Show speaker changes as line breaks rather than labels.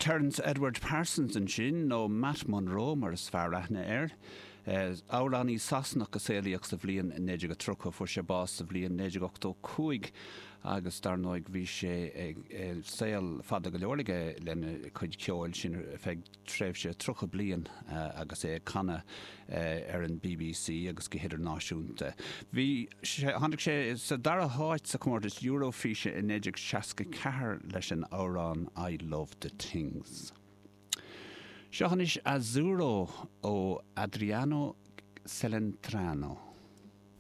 Terence Edward Parsons ansin, nó Matt Monro mar is fearr aithne air. Amhránaí Sasanach a saolaíodh sa bhliain 1930, fuair sé bás sa bhliain 1985 agus dar ndóigh bhí sé ag saol fada go leor aige lena chuid ceoil, sin ar feadh tréimhse 30 bliain agus é ag canadh ar an bbc agus go hidirnáisiúnta. Bhí sé, tháinig sé sa dara háit sa chomórtas Eurofíse i 1964 leis an amhrán I Love the Things. Seo anois Azzurro ó Adriano Celentano.